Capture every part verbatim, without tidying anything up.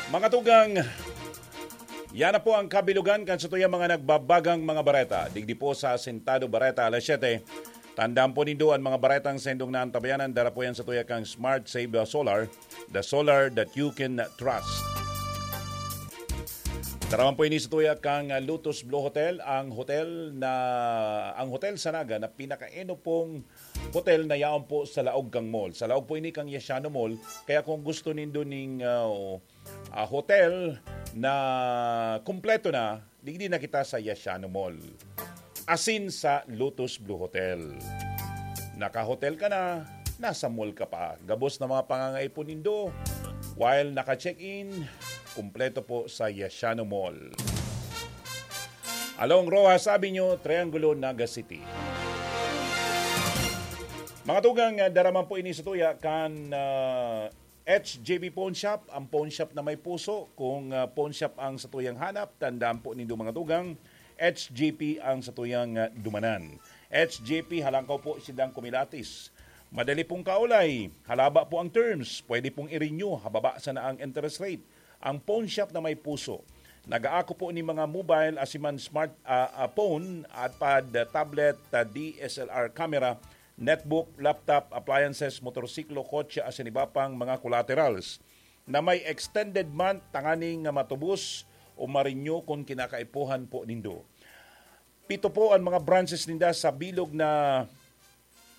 Mga tugang, yan na po ang kabilugan kan satuyang mga nagbabagang mga bareta. Digdi po sa Asintado Bareta, alas siyete. Tandaan po nindo an mga baretang saindong naantabayanan. Dara po yan sa tuya kang Smart Save Solar, the solar that you can trust. Daraman po ini sa tuya kang Lotus Blue Hotel, ang hotel na, ang hotel sa Naga na pinakaenopong hotel na yaon po sa laog kang mall. Sa laog po ini kang Yashano Mall. Kaya kung gusto nindo ning, ah, ah, hotel na kumpleto na, digdi na kita sa Yashano Mall. Asin sa Lotus Blue Hotel. Naka-hotel ka na, nasa mall ka pa. Gabos na mga pangangaipon nindo, while naka-check-in, kumpleto po sa Yashano Mall. Along Roxas Avenue, Triangulo, Naga City. Mga tugang, ah, daraman po ini sa tuya kan, ah, H J B Pawn Shop, ang pawn shop na may puso. Kung, ah, pawn shop ang satuyang hanap, tandaan po nindo, mga tugang, H J P ang satuyang, ah, dumanan. H J P, halangkaw po sindang kumilatis. Madali pong kaulay, halaba po ang terms, pwede pong i-renew, hababa sana ang interest rate. Ang pawn shop na may puso. Nag-aako po ni mga mobile, asiman smart, ah, ah, phone, iPad, ah, tablet, ah, D S L R camera, netbook, laptop, appliances, motorsiklo, kotse, asin iba pang mga collaterals na may extended month tanganing matubos o ma-renew kun kinakaipuhan po nindo. Pito po an mga branches ninda sa bilog na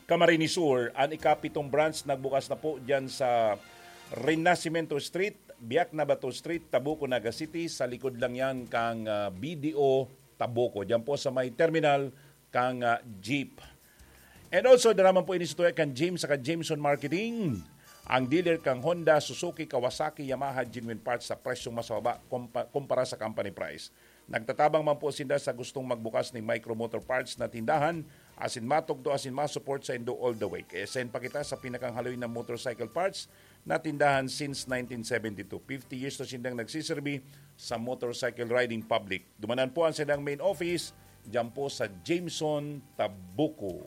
Camarines Sur. An ikapitong branch nagbukas na po diyan sa Renacimiento Street, Biak na Bato Street, Tabuco, Naga City. Sa likod lang yan kang, ah, B D O Tabuco. Diyan po sa may terminal kang, ah, jeep. And also, daraman po ini sa tuya kan James saka Jameson Marketing, ang dealer kang Honda, Suzuki, Kawasaki, Yamaha, genuine parts sa presyong mas mababa kompa-, kumpara sa company price. Nagtatabang man po sinda sa gustong magbukas ning Micro Motor Parts na tindahan, asin matugto asin ma-support saindo all the way. Kaya send pa kita sa pinakang haloy na motorcycle parts na tindahan since nineteen seventy-two. Fifty years na sindang nagsiserbi sa motorcycle riding public. Dumanan po ang sindang main office, diyan po sa Jameson, Tabuco.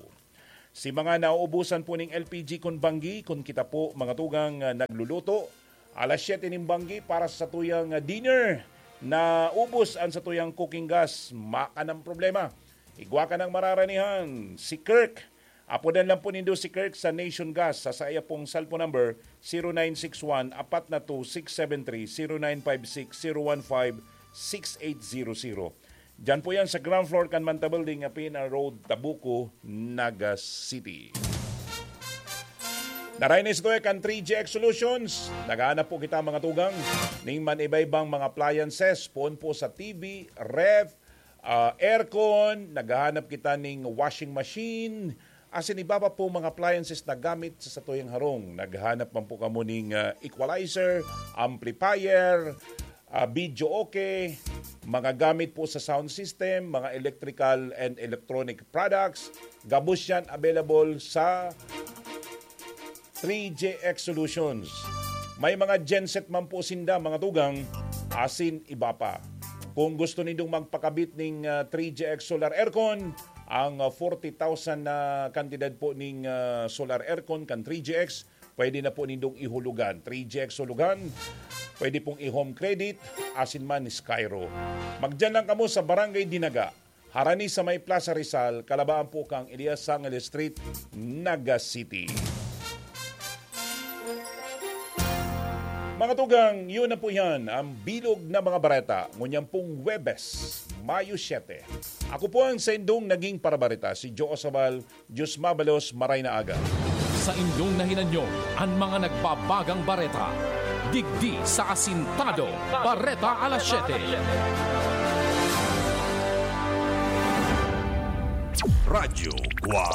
Si mga nauubusan po ning L P G kun banggi, kun kita po, mga tugang, ah, nagluluto, alas siyete nin banggi para sa tuyang, ah, dinner, naubos ang sa tuyang cooking gas, makanang problema. Igwa ka ng mararanihan, si Kirk. Apodan lang po nindo si Kirk sa Nation Gas sa saya pong cellphone number, zero nine six one, apat na two, six seven three, zero nine five six, zero one five, six eight zero zero. Diyan po yan sa ground floor kan Manta Building, Apina Road, Tabuco, Naga City. Naray na istorya kan three G X Solutions. Naghahanap po kita, mga tugang, ning man iba-ibang mga appliances, poon po sa T V, ref, ah, aircon, naghahanap kita ning washing machine, asin iba pa po mga appliances na gamit sa satuyang harong. Naghahanap man po kamo ning, ah, equalizer, amplifier, ah, video okay, mga gamit po sa sound system, mga electrical and electronic products. Gabos yan available sa three G X Solutions. May mga genset man po sinda, mga tugang, asin iba pa. Kung gusto nindong magpakabit ning, ah, three G X solar aircon, ang, ah, forty thousand na kantidad po ning, ah, solar aircon kan three G X, pwede na po nindong ihulugan. Three G X hulugan, pwede pong i-home credit, asin man Skyro. Magdiyan lang kamo sa Barangay Dinaga, harani sa may Plaza Rizal, kalabaan po kang Elias Sangil Street, Naga City. Mga tugang, yun na po yan, ang bilog na mga bareta, ngunyan pong Huwebes, Mayo siyete. Ako po ang saindong naging parabareta, si Joe Sabal. Diyos mabalos, maray na aga. Sa indong nahinanyo, an mga nagbabagang bareta. Digdi sa Asintado, Bareta Alas Siyete. Radyo Guwang.